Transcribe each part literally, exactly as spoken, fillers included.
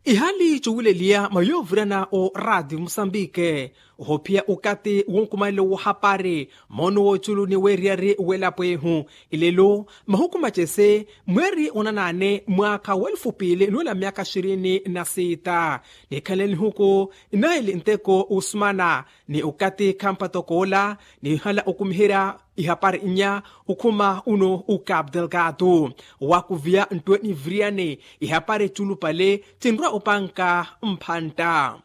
Ihali cuwileliya mwa yoovirana o raatiyo musambike, ohophiya okathi wonkumanelo wohapari moono wooculu ni weeriyari w'elapo ehu. Ilelo mahuku macese, mweeri onanaane mwaakha w'elufu piili nuwela myaka xirini na siita, nikhanle nihuku inaili nteko usumana ni okathi khampatokoola nihala okumiherya ihapari inya. Okhuma uno ukapu delgado wakuviya nttwe niviriyani ihapari culupale cinrwa opanka mphantta.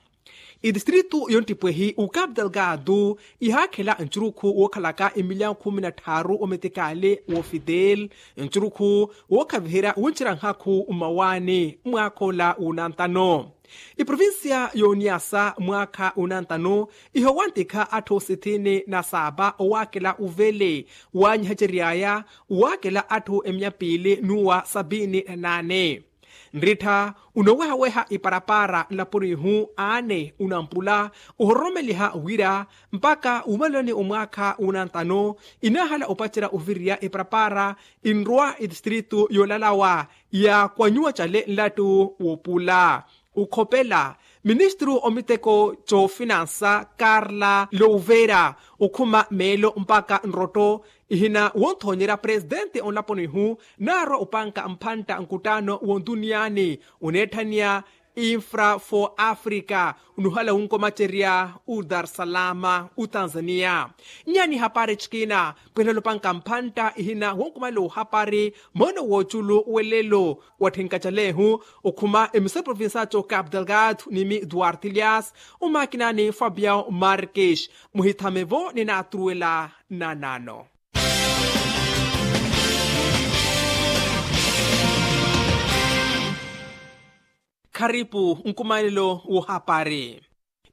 Itistritu yonttipwehi ukapu delgado ihaakhela ncurukhu wookhalaka emiliyani khumi na tthaaru ometikali wofidel, ncurukhu wookhaviherya wuncerya nhakhu mmawaani mwaakha ola wunantano. Iprovincia y'oniyasa mwaakha unantano ihowantikha atthu sitini na saapa owaakela uvele waanyihacery'aya, waakela atthu emiya piili n'uwa sapiini na naane. Nrittha unowehaweha iparapara nlaponi ihu aane unampula ohororomeliha wira mpakha wumaleloni omwaakha unantano inaahala opacerya oviriya iparapara inrwa itistritu yoolalawa ya kwanyuwa cale nlattu wopula. Ukhopela ministru omiteko coofinansa karla louvera okhuma meelo mpakha nrotto ihina wonthoonyerya presidente onlaponi ihu naarwa opanka mphantta nkuttaano wontuniyani oneetthaniya infra for africa unuhala wunkomacerya udarsalama utanzaniya. Nyaani hapari cikina pwehela opanka mphantta ihina wonkumanela ohapari moono wooculu welelo watthenka calehu okhuma emisari provincial cocapu delgado nimi duarte lias omaakina ni fabiao marques muhithame-vo ni naatruwela nanano. Kharipu nkumanelo wohapari.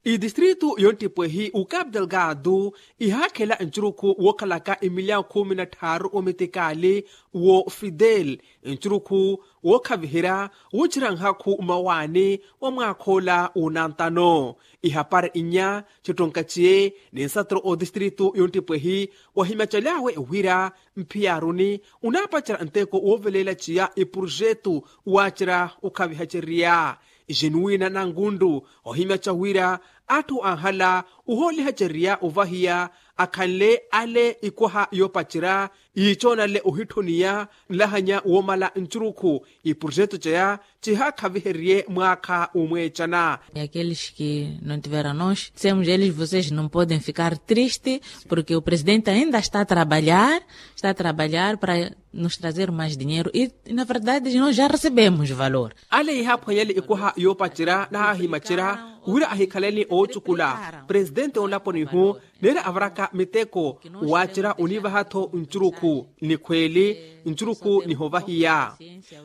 Itistritu yonttipwehi ukapu delgado ihaakhela ncurukhu wookhalaka emiliyani khumi na tthaaru ometikali wo fidel ncurukhu wookhaviherya wuncerya nhakhu mmawaani wa mwaakha ola wunantano. Ihapari inya cittonka ciye ni nsatero otistritu yonttipwehi wahimyacaly'awe wira mphiyaruni onaapacerya nteko wooveleela ciya iprojetu waacerya okhavihacerya. Jenuwina nangundu ohimyaca wira atthu anhala ohoolihacerya ovahiya akhanle ale ikwaha yoopacerya yiicoonale ohitthoniya nlahanya woomala ncurukhu iprojetu ceya cihaakhaviherye mwaakha umweecana. Aqueles que não tiveram nós dissemos eles vocês não podem ficar triste porque o presidente ainda está a trabalhar, está a trabalhar para nos trazer mais dinheiro e na verdade nós já recebemos valor. Ale ihaaphwanyale ikwaha yoopacerya nahaahimacerya wira ahikhaleni oocukula presidente onlaponi ihu neera avaraka miteko waacerya oniivaha-tho ncurukhu. Ni khweeli ncurukhu nihovahiya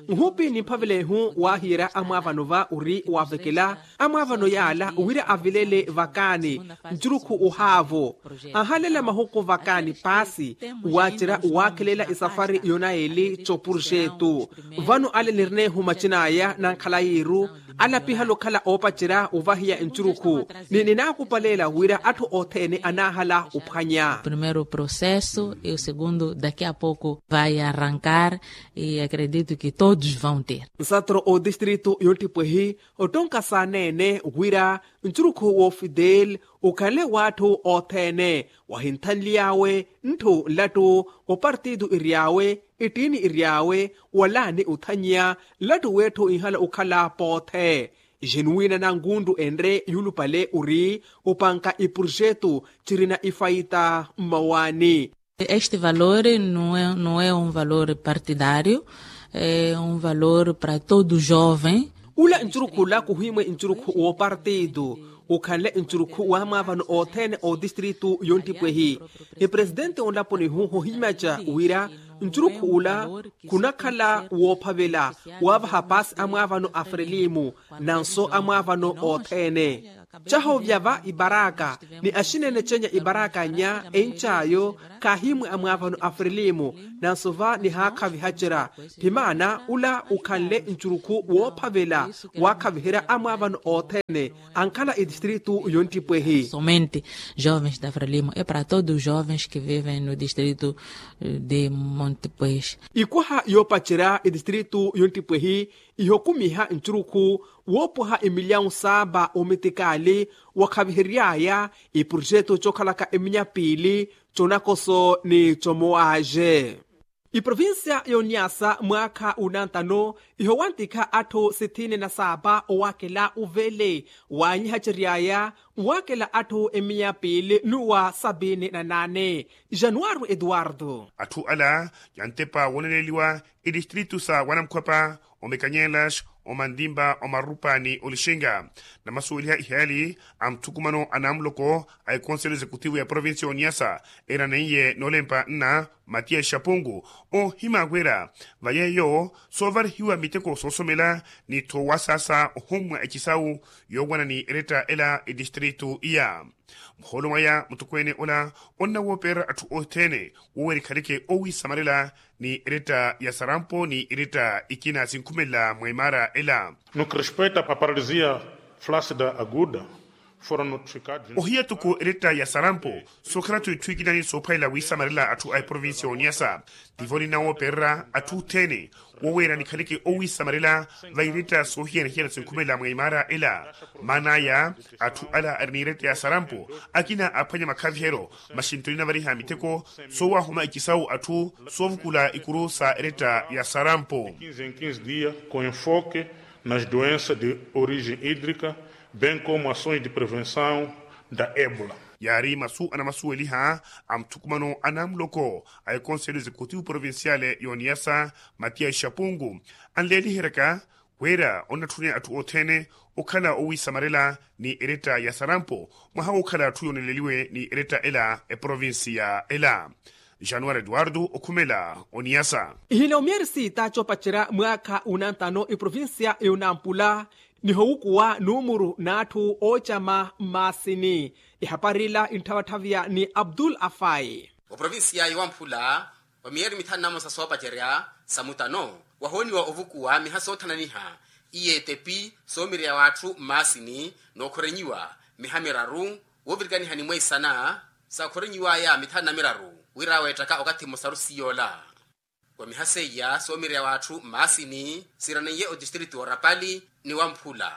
nhupi ni mphavela ihu waahiyerya amwaavano va ori waavekela amwaavano yaala wira avilele vakaani ncurukhu ohaavo anhalela mahuku vakaani paasi waacerya waakhelela esafari yonaeli copuruxetu. Vano ale nirineehu macin'aya nankhala yiiru alapihala okhala oopacerya ovahiya ncurukhu ni ninaakupaleela wira atthu othene anaahala ophwanya. Primeiro processo e o segundo daqui a pouco vai arrancar e acredito que todos vão ter. Nsatero otistritu yonttipwehi ottonka saaneene wira ncurukhu wo fidel ukhanle w'atthu othene wahinthanly'awe ntthu nlattu opartitu iry'awe ittiini iry'awe walaani othanyiya nlattu w'etthu inhala okhala poothe. Jenuwina nangundu enre yuulupale ori opanka iprojetu cirina ifaita mmawaani. Este valor não é um valor partidário, é um valor para todo jovem. Ula ncurukhu ula khuhimwe ncurukhu woopartitu ukhanle ncurukhu w'amwaavano othene otistritu yonttipwehi. Epresidente onlaponi ihu hohimaca wira ncurukhu ula khunakhala woophavela waavaha paasi amwaavano a frelimu nanso amwaavano othene. Cahovya va ibaraka ni axineene cenya ibaraka nya encayo khaahimwe amwaavano a frelimu nanso va nihaakhavihacerya. Phimaana ula ukhanle ncurukhu woophavela waakhaviherya amwaavano othene ankhala etistritu yonttipwehi. Somente jovens da frelimo e para todos os jovens que vivem no distrito de monte pues. Ikwaha yoopacerya etistritu yonttipwehi ihokumiha ncurukhu woopwaha emilyawu saaba omitikaali wakhavihery'aya eprojeto cookhalaka eminya piili conakoso ni comowaaje. Iprovincia y'oniyasa mwaakha unantano ihowantikha atthu sithini na saaba owaakela uvele waanyihacery'aya nwaakela atthu eminya piili n'uwa sabini na naane. Januwari eduwardo. Atthu ala yantepa wooneleliwa etistritu sa wanamkhwapa omekanyelas omantimpa omarupa ni olixinga namasuweliha ihaali a muthukumano a namuloko a ekonselo exekutivu ya provincia y'oniyasa eraneiye noolempa nna matiya exapungu oohimaakwera va yeeyo soovarihiwa miteko soosomela ni tho wasaasa ohummwa ecisawu yoowana ni eretta ela etistritu iya. Muhoolo mwaya mutokweene ola onnawoopererya atthu othene woowera ikhaleke owiisamarela ni eretta ya sarampo ni eretta ikina sinkhumelela mwa imaara ela. No que respeita a paralisia flácida aguda foram notificados. Ohiya toko eretta ya sarampo sookhala-tho itthu ikina ni soophayela wiisamarela atthu a eprovincia y'oniyasa tivo ninawoopererya atthu othene woweera nikhaleke owiisamarela va iretta soohiyana-hiyana sinkhumelela mwa imaara ela. Maana aya atthu ala ari ni iretta ya sarampo akina aphwanya makhaviheryo maxinto ninavariha miteko soowahuma icisawu atthu soovukula ikuru sa eretta ya sarampo. Quinze em quinze dias com enfoque nas doenças de origem hídrica bem como ações de prevenção da ébola. Yaari masu anamasuweliha a muthukumano a namuloko a ekonselo exekutivu provinciale y'oniyasa matiya exapungu anleeliheryaka wira onnatthuneya atthu othene okhala owiisamarela ni eretta ya sarampo mwaha wookhala atthu yooneleliwe ni eretta ela eprovincia ela. Januwari eduwardo okhumela oniyasa. Ihina omiyeri siita coopacerya mwaakha unantano eprovincia y'onampula nihowukuwa numuru n'atthu oocama mmaasini. Ehapari ila intthawatthaviya ni abdul afai. Oprovincia yowamphula wa miyeeri mithanu na mmosa soopacerya sa mutano wahooniwa ovukuwa miha soothananiha iye etepi soomirya w'atthu mmaasini nookhorenyiwa miha miraru woovirikaniha ni mweisana saakhorenyiw'aya mithanu na miraru wira weettaka okathi mmosaru siiy'ola. Wa miha seiya soomirya w'atthu mmaasini siiraneiye otistritu orapali ni wamphula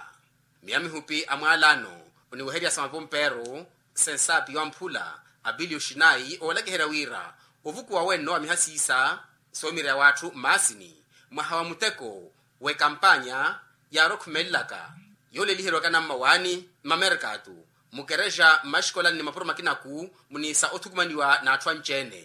miya mihupi a mwaalano oniweherya sa mapompeeru sensaapi wamphula apili oxinayi oolakiherya wira ovukuwa wenno wa miha siisa soomirya w'atthu mmaasini mwaha wa muteko w'ekampanya yaari okhumelelaka yooleliheriwaka nammawaani mmamerkatu mukerexa mmaxikolani ni mapuro makinaku muniisa othukumaniwa n'atthu anci-ene.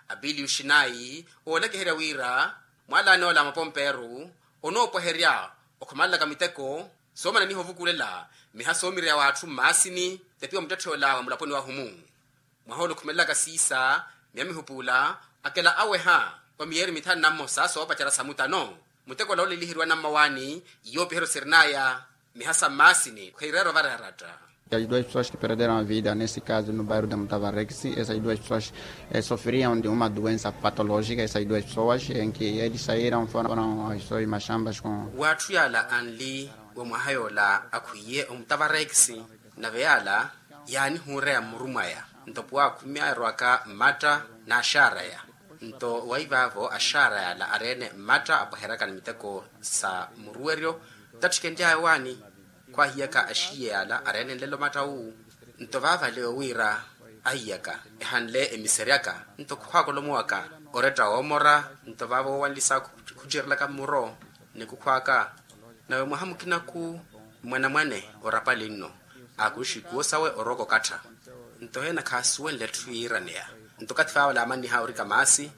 Apili oxinayi oolakiherya wira mwaalano ola a mapompeeru onoopweherya okhumalelaka miteko soomananiha ovukulela miha soomirya w'atthu mmaasini tepi wa muttetthe ola wa mulaponi wahumu mwaha ola okhumelelaka siisa miya mihupuula akela aweha wa miyeeri mithanu na mmosa soopacerya sa mutano muteko ola ooleliheriwa nammawaani yoopiheryo sirinaya miha sa mmaasini khwiireera ovareeratta. As duas pessoas que perderam a vida nesse caso no bairro da mutavarexi essas duas pessoas sofriam de uma doença patológica essas duas pessoas em que eles saíram foram as suas machambas com. W'atthu yaala anli wa mwaha yoola akhwiiye omutavarekisi nave yaala yaanihuureya mmuru mwaya nto puwa akhumi aerowaka mmatta n'axaaraya nto waivaavo axaara yaala areene mmatta apweheryaka ni miteko sa muruweryo tattikenly'aya owaani khwaahiyaka axiiye yaala areene nlelo matta wu nto vaavale owiira ahiyaka ehanle emiseryaka nto khukhwaaka olomowaka oretta woomora nto vaavo woowanlisa khucerelaka mmuro ni kukhwaaka nawe mwaha mukinaku mwanamwane orapali nno aakuxi kuwo sawe orooko okattha nto heena khaasuwenle etthu yiiraneya nto okathi vaavo laamanniha orika maasi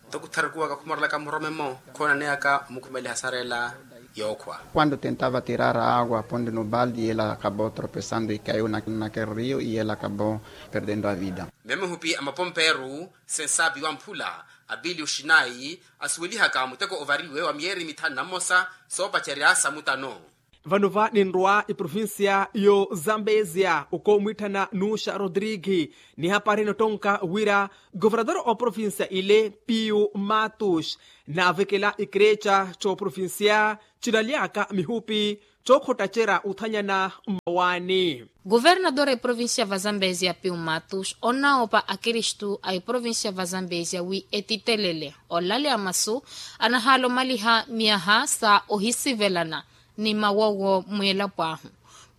nto kutharukuwaka khumorelaka murome-mo khoonaneyaka omukhumeliha sareela yookhwa. Quando tentava tirar a água pondo no balde e ela acabou tropeçando e caiu naquele rio e ela acabou perdendo a vida. Miya mihupi a mapompeeru sensaapi wamphula apili oxinayi asuwelihaka muteko ovariwe wa miyeeri mithanu na mmosa soopacerya sa mutano. Vano va ninrwa eprovincia yo zambezia okomwitthana nuxa rodrigi, nihapari nottonka wira governador oprovincia ile piyu matus, naavekela ikerexa coprovincia cilalyaka mihupi cokhottacerya othanyana mmawaani. Governador eprovincia va zambezia piyu matus onnawopa akristu a eprovincia va zambezia wi etitelele olaleya masu anahaala omaliha myaha sa ohisivelana ni mawowo mweelapo ahu.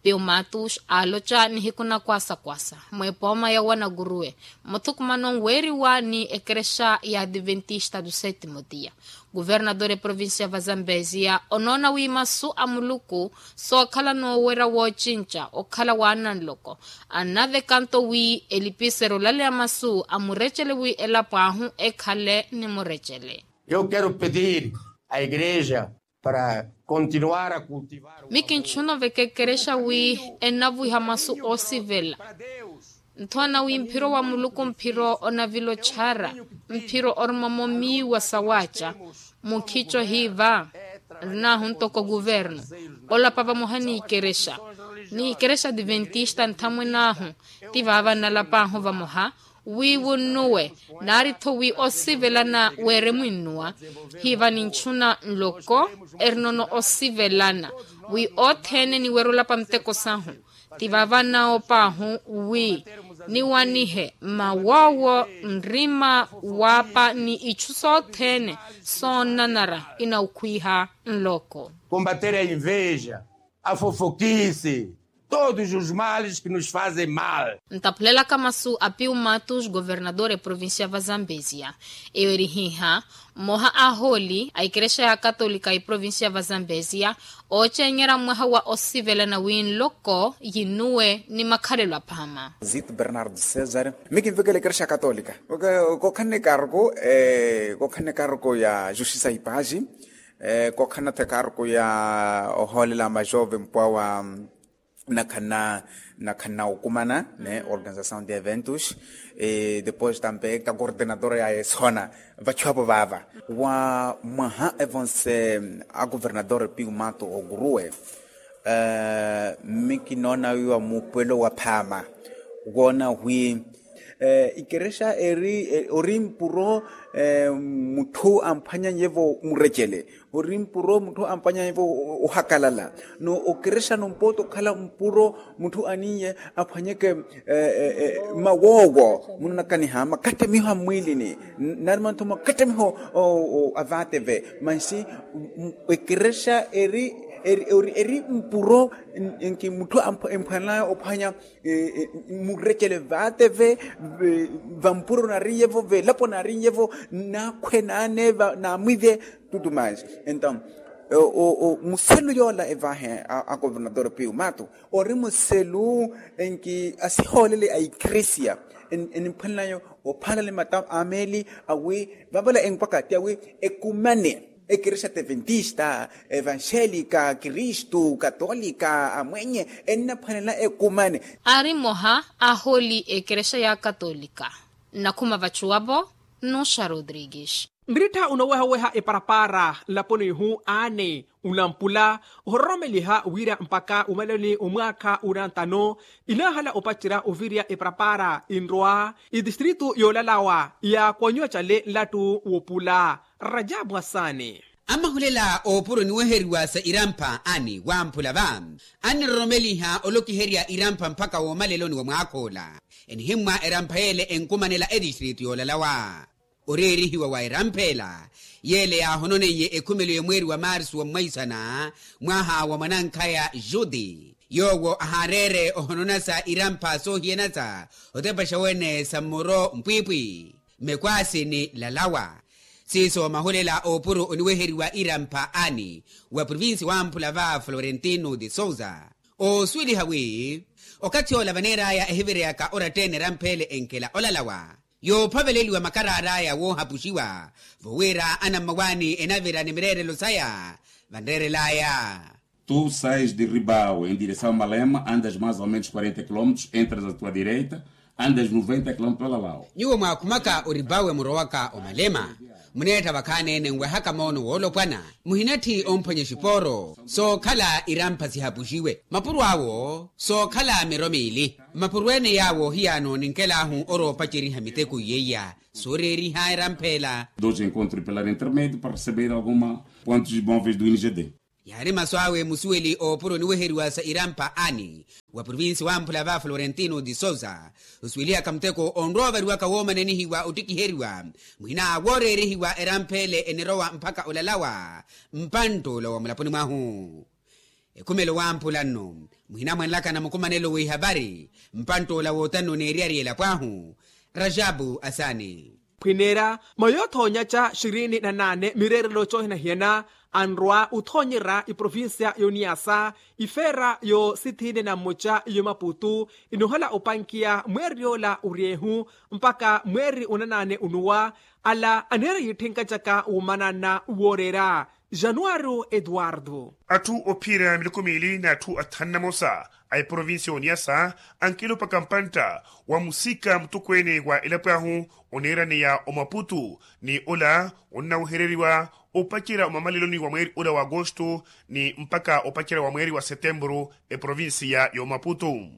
Piyu matus aaloca nihiku na kwasakwasa mwepooma ya wanakuruwe muthukumano weeriwa ni ekerexa ya adventista do setimo dia. Kuvernador eprovincia va zambezia onoona wi masu a muluku sookhala noowerya woocinca okhala waananloko, annavekanto wi elipisero olaleya masu amurecele wi elapo ahu ekhale ni murecele. Eu quero pedir a igreja para continuar a cultivar. Mi kintxuna oveka ekerexa wi ennavuiha masu oosivela. Nthowana wi mphiro wa muluku mphiro onavila ochara, mphiro oruma momiiwa sawaaca. Mukhico hiiva nrinahu ntoko kuvernu, olapa vamoha ni ikerexa ni ikerexa adventista nthamwene ahu. Ti vaava nnalap'ahu vamoha wi wunnuwe, naari-tho wi osivelana weeremwinnuwa. Hiiva nintxuna nloko erinono osivelana wi othene niwerya olapa nteko sahu. Ti vaava nnaop'ahu wi niwanihe mawoowo, nrima, waapa ni itthu sothene soonnanara inaukhwiha nloko. Combater a inveja, a fofokisi, todos os males que nos fazem mal. Ntaphulelaka masu a piu matus governador eprovincia va zambezia. Eyo eri hiiha mmoha a ahooli a ikerexa ya katolika eprovincia va zambezia oocenyerya mwaha wa osivelana wi nloko yinnuwe ni makhalelo aphaama. Zito bernardo cesar. Mi kinvekela ikerexa ya katolika kookhanne karku kookhanne karku ya justiça e paz. Kookhanna-tho ekarku ya ohoolela majove mpwa wa nakhanna nakhanna okumana ne organização de eventos. Depois tambe ka coordenador ya esona vachu apo vaava wa mwaha evonse a governador piu mato okuruwe. Mi kinoona wiiwa muupuwelo wa phaama woona wi ikerexa eri ori mpuro mutthu amphwanyanyevo murecele. Ori mpuro mutthu amphwanyanyevo ohakalala no okerexa no mpoota okhala mpuro mutthu aniye aphwanyeke mawoowo munonakaniha makattamiho a mmwiilini. Nari mantho makattamiho a vaateve mansi ekerexa eri eri mpuro enki mutthu emphwanelaya ophwanya murecele vaateve vampuro narinyevo velapo narinyevo nakhwe nane namwivye. Tutu mansi ento muselu yoola evahe a governador piu mato ori muselu enki asihoolele a ikresia eniphwanelayo ophalale mata ameeli awi vavala enkwaka ti awi ekumane ekerexa adventista evanxelica kristu katolika amwenye ennaphwanela ekumane. Ari mmoha ahooli ekerexa ya katolika nnakhuma vachuwapo nnuxa rodrigues. Nrittha unowehaweha eparapara nlaponi ihu aani unampula ohororomeliha wira mpaka umaleloni omwaakha unantano inahala opacerya ovirya eparapara inrwa itistritu yoolalawa ya kwanyuwa cale nlattu wopula. Rajabu hasani. Amahulela oopuro niweheriwa sa irampha ani wamphula va aniroromeliha olokiherya irampha mpaka woomaleloni wa mwaakhoola enihimmwa erampha yeele enkumanela etistritu yoolalawa. Oreerihiwa wa eramphela yeele yaahononeiye ekhumelo ya mweeri wa marsu wa mwaisana mwaha wa mwanankhaya juti yoowo ahaareere ohononasa irampha soohiyanasa otepaxa wene sa mmoro mpwiipwi. Mekwaasi ni lalawa siiso mahulela oopuro oniweheriwa irampha ani wa provinsi wamphula va florentino de sousa oosuweliha wi okathi ola vaneeraya ehivereyaka oratta-ene eramphele enkela olalawa yoophaveleliwa makaraaraya woohapuxiwa vowira anammawaani enavira ni mireerelo saya vanreerelaya. Tu sais de ribau em direção a malema andas mais ou menos quarenta quilómetros entras a tua direita. Andes noventa kilometro lalawo. Nyuwo mwaakhumaka oribawe murowaka omalema, muneetta vakhaani-ene nwehaka moono woolopwana, muhinatthi omphwanya exipooro sookhala irampha sihapuxiwe mapuro awo sookhala miro miili. Mapuro ene yaawo hiyaano ninkelaahu oroopaceriha miteko iyeiya. Sooreeriha erampha ela. Dos encontro pela intermedio para receber alguma pontos móveis do ingd. Yaari masu awe musuweli oopuro oniweheriwa sa irampha ani wa provincia wamphula va florentino de sousa, osuwelihaka muteko onrowa ovariwaka woomananihiwa ottikiheriwa, muhina wooreerehiwa erampha ele enirowa mpakha olalawa mpantt'ula wa mulaponi mwahu. Ekhumelo wamphula nno muhina mwanlakana mukumanelo w'ihavari mpantt'ula wootanno neeriyari elapo ahu. Rajabu asani. Khwineera mayo othoonyaca xirini na naane mireerelo coohinahiyana, anrwa othoonyerya eprovincia y'oniyasa ifeera yo sithiine na mmoca y'omaputu, inohala opankiya mweeri yoola oryeehu mpakha mweeri onanaane onuwa. Ala aneera yitthinkacaka womanana wooreera. Januario eduardo. Atthu ophiira miloko miili n'atthu athanu na mosa a eprovincia y'oniyasa ankilopaka mpantta wa musika mutokweene wa elapo ahu oneeraneya omaputu, ni ola onnawehereriwa opacerya omamaleloni wa mweeri ola wa agosto ni mpakha opacerya wa mweeri wa setemburu eprovincia y'omaputu.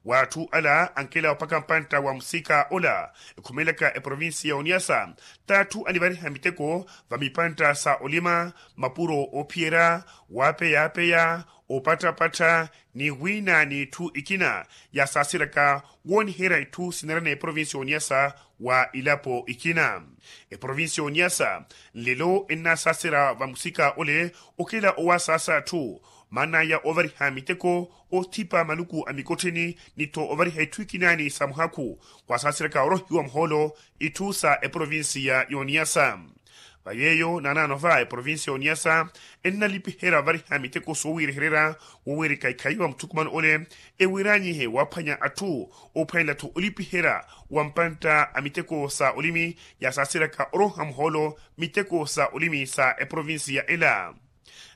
W'atthu ala ankela opaka mpantta wa musika ola ekhumelaka eprovincia y'oniyasa, t'atthu anivariha miteko va mipantta sa olima, mapuro oophiyerya, waapeya-apeya, opattha-pattha, ni wiina n'itthu ikina yasaaseryaka wooniherya itthu sineerana eprovincia y'oniyasa wa ilapo ikina. Eprovincia y'oniyasa nlelo ennasaaserya vamusika ole okela owasaasa atthu maan'aya ovariha miteko, othipa maluku a mikottheni ni-tho ovariha itthu ikinaani sa muhakhu, khwasaaseryaka orohiwa muhoolo itthu sa eprovincia y'oniyasa. Va yeeyo naanaano va eprovincia y'oniyasa ennalipiherya ovariha miteko soowiirihererya wowiirika ikhaiwa muthukumano ole ewiiranyihe waaphwanya atthu, ophwanela-tho olipiherya wa mpantta a miteko sa olimi yasaaseryaka oroha muhoolo miteko sa olimi sa eprovincia ela.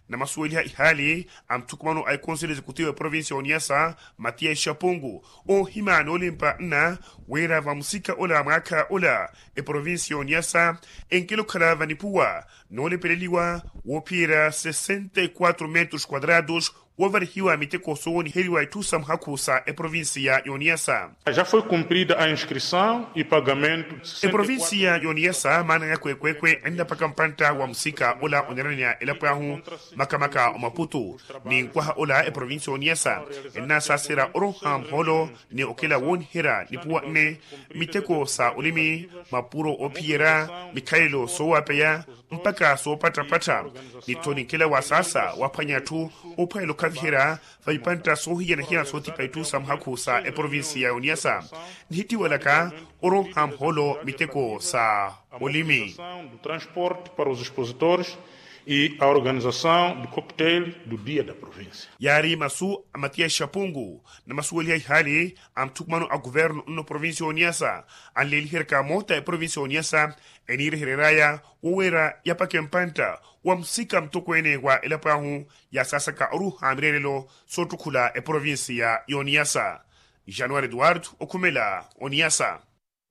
Namasuweliha ihaali a muthukumano a ekonselho executivo eprovincia y'oniyasa, matias xapungu, oohima noolimpa nna wira vamusika ola mwaakha ola eprovincia y'oniyasa enkela okhala vanipuwa noolepeleliwa woophiyerya sessenta e quatro metros quadrados, woovarihiwa miteko soowooniheriwa itthu sa muhakhu sa eprovincia y'oniyasa. Já foi cumprida a inscrição e pagamento. Eprovincia y'oniyasa maana ya kweekweekwe ennapaka mpantta wa musika ola oneeraneya elapo ahu, makamaka omaputu. Ni nkwaha ola eprovincia y'oniyasa ennasaaserya oroha muhoolo ni okela wooniherya nipuwa nne, miteko sa olimi, mapuro oophiyerya, mikhalelo soowapeya mpakha soopatthapattha, ni-tho ninkela wa saasa waaphwanya atthu oophwanela okhaviherya va ipantta soohiyana-hiyana soothipa itthu sa muhakhu sa eprovincia y'oniyasa. Nihittiwelaka oroha muhoolo miteko sa olimi. Do transporte para os expositores e a organização do cocktail do dia da província. Yaari masu a matias xapungu namasuweliha ihaali a muthukumano a kuvernu nno provincia y'oniyasa anleeliheryaka moota eprovincia y'oniyasa eniirehereryaya woweera yapakhe mpantta wa musika mutokweene wa elapo ahu yasaasaka oruha mireerelo soottukhula eprovincia y'oniyasa. Januari eduardo okhumela oniyasa.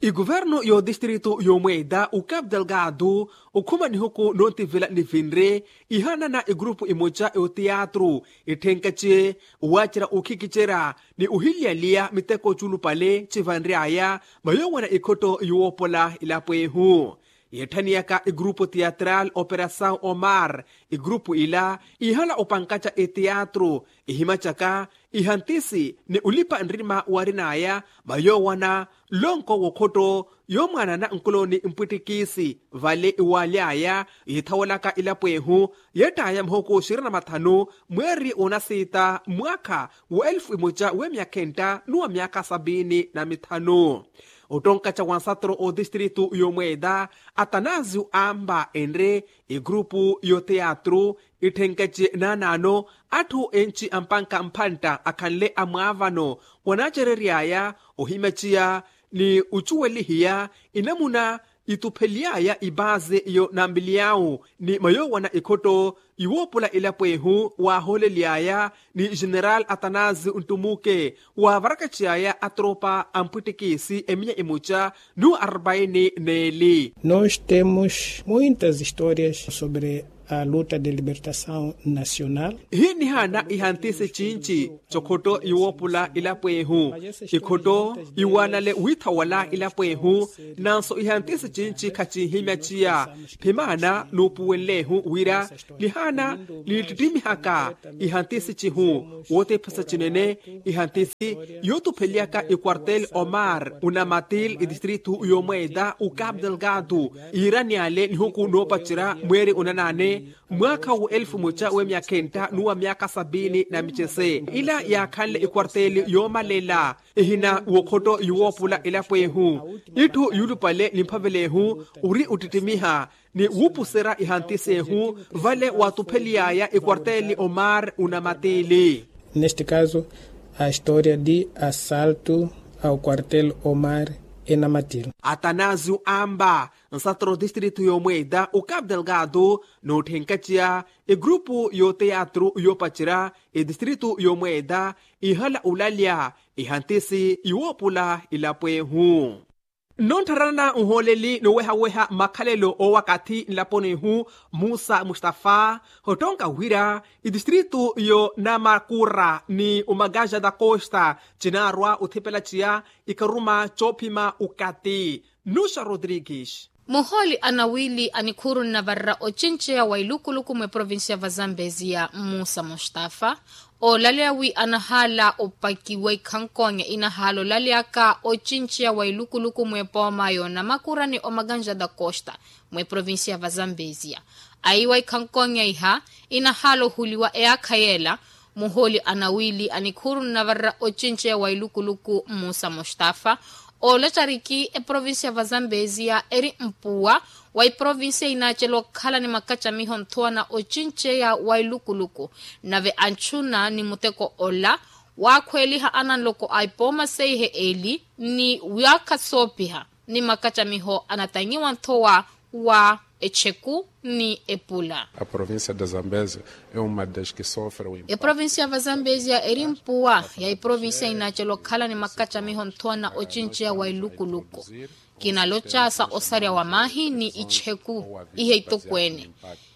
Ikuvernu y'odistritu y'omweita ukapu delgado okhuma nihuku noontivela nivinre ihanana ikurupu imoca y'oteatru itthenkace owaacerya okhikicerya ni ohiliyaliya miteko culupale civanry'aya mayoowana ikhotto yowoopola ilapo ehu. Yeethaniyaka ikurupu teatral operasaw omar ikurupu ila ihala opankaca eteatru ihimacaka ihantisi ni ulipa nrima waarin'aya mayoowana nlonko w'okhotto yoomwaanana nkuloni mpwittikiisi vale iwaaly'aya yiithawelaka ilapo ehu yeett'aya muhuku xirina mathanu mweeri onasiita mwaakha wa elfu imoca w'emyakha entta ni wa myakha sapiini na mithanu. Ottonkaca wa nsatoro otistritu y'omweeta atanasio aampa enre ekurupu y'oteatru itthenkace naanaano atthu enci ampanka mphantta akhanle amwaavano wanaacerery'aya ohimaciya ni ocuwelihiya enamuna itupheliy'aya ipaasi yo nampiliyawu ni mayoowana ikhotto, iwoopula elapo ehu waahooleliy'aya ni general atanasio nttumuke waavarakaxiy'aya atropa a mpwittikisi eminya imuca n'uwo arpaini n'eli. Nos temos muitas histórias sobre a luta de libertação nacional. Ihinnihaana ihantisi cinci cokhotto iwoopula elapo ehu. Ikhotto iwanale wiithawala elapo ehu. Nanso ihantisi cinci khacinhimyaciya. Phimaana nuupuwenlehu wira nihaana niittittimiha ka ihantisi cihu. Wootephesa cinene ihantisi yootupheliyaka ikwartel omar unamatil idistritu yomweeta ukapu delgado. Iirani ale nihuku noopacerya mweeri unanaane mwaakha wa elfu muca we myakhenta n'uwa myaakha sapiini na micese ila yaakhanle ikwartel yoomalela. Ehina wokhotto yuwoopula elapo ehu itthu yuulupale ni mphavela ehu ori ottittimiha ni wuupuserya ihantisi ehu. Vale waatupheliy'aya ekwarteli omar unamatili. Neste caso a história de assalto ao quartel omar enamatil. Atanasio amba nsatro distritu yomweeta ukapu delgado nootthenkatiya egrupu yoteatru yoopacerya edistritu yomweeta ihala olalya ihantisi yuwoopula elapo ehu. Nnontharana nhooleli nowehaweha makhalelo owakathi nlaponi ihu musa mustafa ottonka wira itistritu yo namakura ni omakaja da costa cinaarwa othipela ciya ikaruma coophima okathi. Nuxa rodrigues. Muhooli anawili a nikhuuru nnavarera ocinceya wa ilukuluku mweprovincia va zambezia musa mustafa oolaleya wi anahaala opakiwa ikhankonya inahaala olalyaka ocinceya wa ilukuluku mwepooma yo namakura ni omakanja da costa mweprovincia va zambezia. Aiwa ikhankonya iha inahaala ohuliwa eyaakha yeela. Muhooli anawili a nikhuuru nnavarera ocinceya wa ilukuluku musa mustafa oolacariki eprovincia va zambezia eri mpuwa wa iprovincia inaacela okhala ni makacamiho nthowa na ocinceya wa ilukuluku. Nave anchuna ni muteko ola waakhweeliha ananloko a ipooma seihe eli ni waakha soopiha ni makacamiho anatanyiwa nthowa wa echeku ni epula. A provincia da zambezia é uma das que sofre o impacto. Eprovincia va zambezia eri mpuwa ya iprovincia inaacela okhala ni makacamiho nthowa na ocinceya wa ilukuluku. Kinaloca sa osarya wa maahi ni icheku ihe itokweene.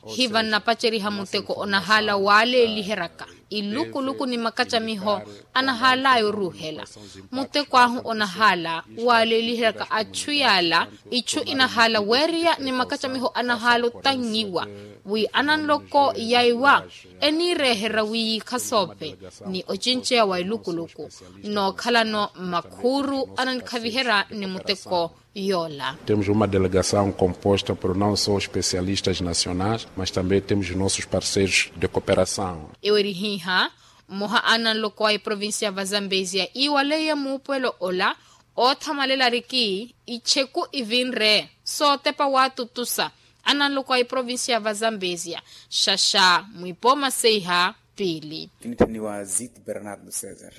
Hiva nnapaceriha muteko onahaala waaleeliheryaka ilukuluku ni makacamiho anahaalaya oruuhela. Muteko ahu onahaala waaleeliheryaka achu yaala ichu inahaala weeriya ni makacamiho anahaala otanyiwa wi ananloko yaiwa eniireeherya wi yiikha soophe ni ocinceya wa ilukuluku nookhalano makhuuru ananikhaviherya ni muteko yoola. Temos uma delegação composta por não só especialistas nacionais mas também temos nossos parceiros de cooperação. Ewerihihya mmoha ananloko a iprovincia va zambezia iiwaleiye muupuwelo ola oothamalela ariki icheku ivinre sootepa waatutusa ananloko a iprovincia va zambezia xaxa mwipooma seiha piili. Kinitthaniwa ziti bernardo cesar.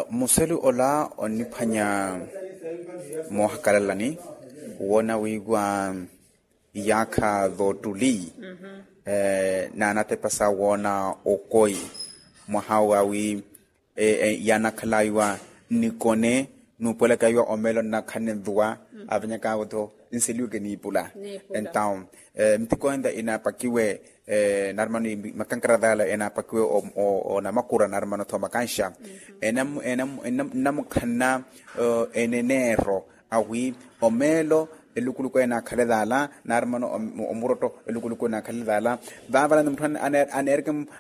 Muselu ola onniphwanya moohakalalani woona wiiwa iyaakha voottuli naanatepa sa woona okoi mwaha wawi yaanakhalaiwa nnikone nuupuwelakaiwa omeelo nnakhanne nvuwa. Avenyakaawo-tho nseliweke niipula. Entaw mitiko enta inaapakiwe nari mano makankara daala enaapakiwe onamakura nari mano-tho makanxa nnamukhanna eneneero awi omeelo elukuluku enaakhale daala nari mano omurotto elukuluku enaakhale daala. Vaavala ni mutthu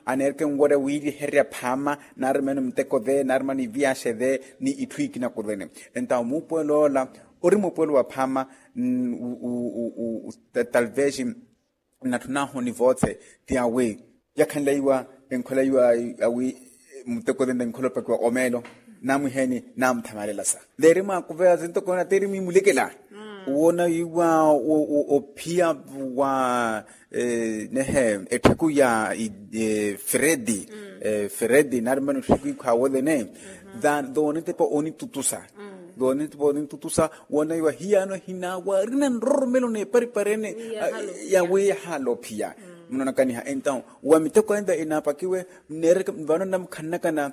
aneereke nworya wiiliherya phaama nari mano miteko ve nari mano iviyaxe ve ni itthu ikina kuvene. Entaw muupuwelo ola ori muupuwelo wa phaama talvez nnatthunaahu ni voothe ti awi yakhanleiwa enkholeiwa awi muteko tenta enkhola opakiwa omeelo namwiheeni namuthamalela sa veeri mwaakuveya sintoko nateeri mwiimulekela woona iwa ophiya wa nehe ettheku ya fredi fredi nari mano ettheku ikhwaawo tene. Doonitepa onitutusa Voonintutusa woonaiwa hiyaano ehina waarina nroromelo n'eparipari ene ya wiiya haalophiya. Munoonakaniha entawu wa miteko enta enaapakiwe, nneereke vano nnamukhananakana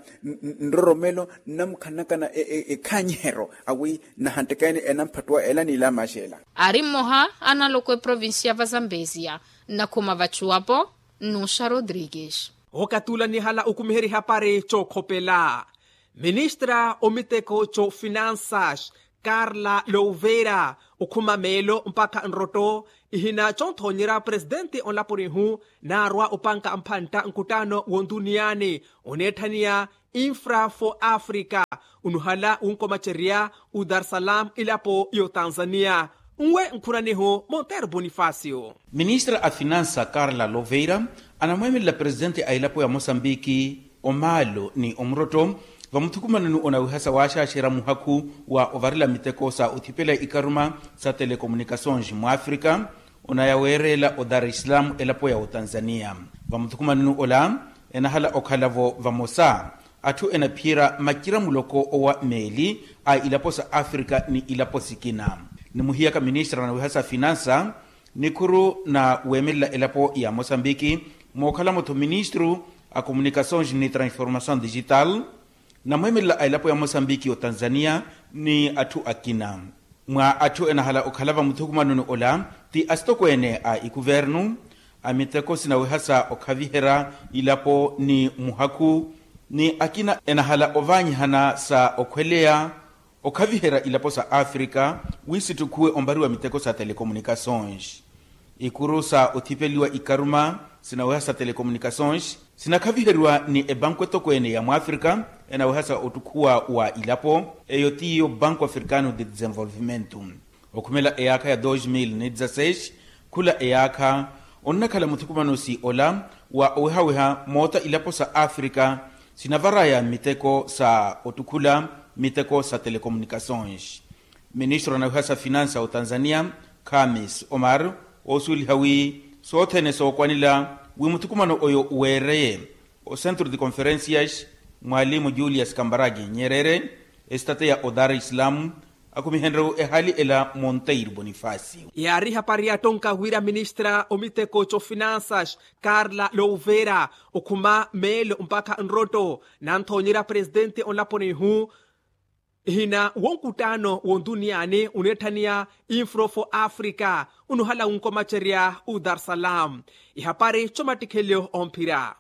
nroromelo, nnamukhananakana ekhaanyihero awi nahantteke ene enamphattuwa ela n'ila maxela. Ari mmoha analoko eprovincia va zambezia nnakhuma vachuwapo nnuxa rodrigues. Okatula nihala okumiheri hapari chookhopela ministra omiteko chofinansas karla louveira okhuma meelo mpakha nrotto ihina chonthonyerya presidenti onlaponihu naarwa opanka mphantta nkuttaano wontuniyani oneetthaniya infra for africa unuhala wunkomacerya udarsalam ilapo y'otanzaniya nwe nkhunanihu monteiro bonifacio. Ministra a finansa karla loveira anamweemelela presidenti a elapo ya mosambiki omaalo ni omurotto vamuthukumanoni onawihasa waaxaaxerya muhakhu wa ovarela miteko sa othipela ikaruma sa telekomunikations mwafrika onaya weereela odar islam elapo ya otanzaniya. Vamuthukumanoni ola enahala okhala-vo vamosa atthu enaphiyerya macira muloko owa meeli a ilapo sa afrika ni ilapo sikina. Nimuhiyaka ministra nawiha sa finansa nikhuru na weemelela elapo ya mosambiki mookhala-mo-tho ministru a komunikations ni transformations digital namweemelela a elapo ya mosambiki otanzaniya ni atthu akina. Mwa atthu enahala okhala vamuthukumanoni ola ti asitokweene a ikuvernu a miteko sinawihasa okhaviherya ilapo ni muhakhu ni akina enahala ovaanyihana sa okhweleya okhaviherya ilapo sa afrika wi sittukhuwe ompariwa miteko sa telekomunikations. Ikuru sa othipeliwa ikaruma sinaweha sa telekomunikations sinakhaviheriwa ni ebanku etokweene ya mwafrika enaweha sa ottukhuwa wa ilapo eyo tiyo banku africano de desenvolvimento. Okhumela eyaakha ya dos mil ni dezasseis khula eyaakha onnakhala muthukumanosi ola wa owehaweha moota ilapo sa afrika sinavaraya miteko sa ottukhula miteko sa telekomunikations. Ministro anawiha sa finansa otanzania khamis omar oosuweliha wi sothene sookwanela wi muthukumano oyo weereye o centro de conferencias mwalimu julius kambaragi nyerere esitateya o dar islam akhumihenrye-vo ehaali ela monteiro bonifacio. Yaari hapari yattonka wira ministra omiteko cofinansa karla louvera okhuma meelo mpakha nrotto nanthonyerya presidente onlaponihu ihina wonkuttaano wontuniyani uneetthaniya infro for africa unuhala wunkomacerya u dar salam ihapari comattikhelyo omphira.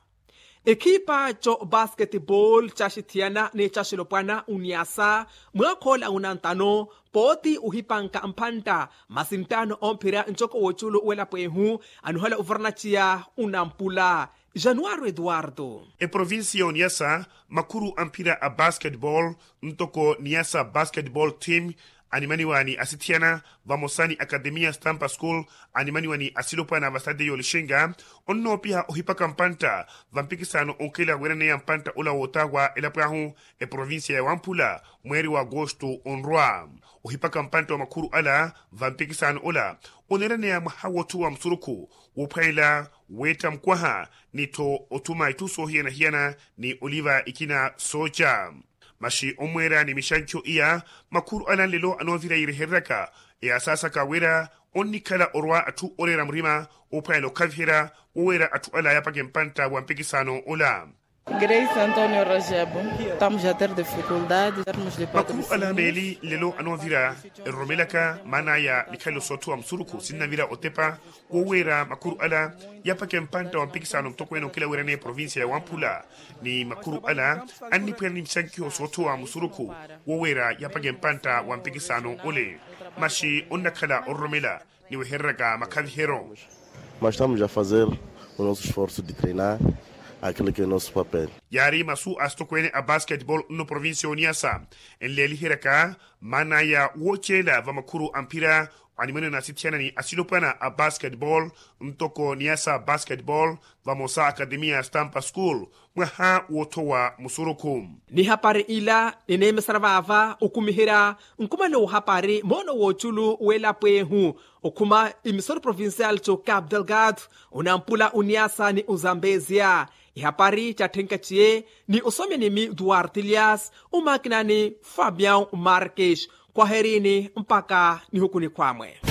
Ekhipa co basketball caxithiyana ni caxilopwana oniasa mwaakhoola unantano pooti ohipanka mphantta masi nttaano omphira ncoko w'oculu w'elapo ehu anuhala ovaranaciya unampula. Januaro eduardo. Eprovincia oniasa makhuru amphira a basketball ntoko niasa basketball team animaniwa ni asithiyana vamosa ni akademiya stampa school animaniwa ni asilopwana va stade y'olixinga onnoopiha ohipaka mpantta vampikisano onkela weeraneya mpantta ola wootawa elapo ahu eprovincia ya wamphula mweeri wa agosto onrwa ohipaka mpantta wa makhuru ala vampikisano ola oneeraneya mwaha woothuwa musurukhu woophwanela weetta mukwaha ni-tho othuma itthu soohiyana-hiyana ni oliva ikina sooca. Maxi omweera ni mixancho iya makhuru ala nlelo anoovira yiirihereryaka eyasaasaka wira onnikhala orwa atthu oreera murima oophwanela okhaviherya woweera atthu ala yaapaka empantta wa mpikisano ola. Grace antonio rajabo. Estamos a ter dificuldade termos de patrocínio. Makhuru ala meeli nlelo anoovira eroromelaka maana aya mikhalelo soothuwa musurukhu sinnavira otepa woweera makhuru ala yaapaka empantta wa mpikisano mutokweene onkela weeraneya eprovincia ya wamphula ni makhuru ala anniphwera ni mixankiho soothowa musurukhu woweera yaapaka empantta wa mpikisano ole maxi onnakhala ororomela ni wehereryaka makhaviheryo. Mas estamos a fazer o nosso esforço de treinar aquilo que é o nosso papel. Yaari masu a sitokweene a basketball nno provincia oniasa enleeliheryaka maana ya wooceela va makhuru a mphira animwene na asithiyana ni asilopwana a basketball ntoko niyasa basketball vamosa akademiya ya stampa school mwaha woothowa musurukhu. Ni hapari ila nineemesana vaava okumiherya nkumano wa hapari moono wooculu w'elapo ehu okhuma imisoro provincial to cap delgado onampula oniyasa ni ozambezia. Ihapari catthenka ciye ni osomya nimi duarte elias omakinani fabian marques. Khwaherini mpaka nihuku nikhwamwe.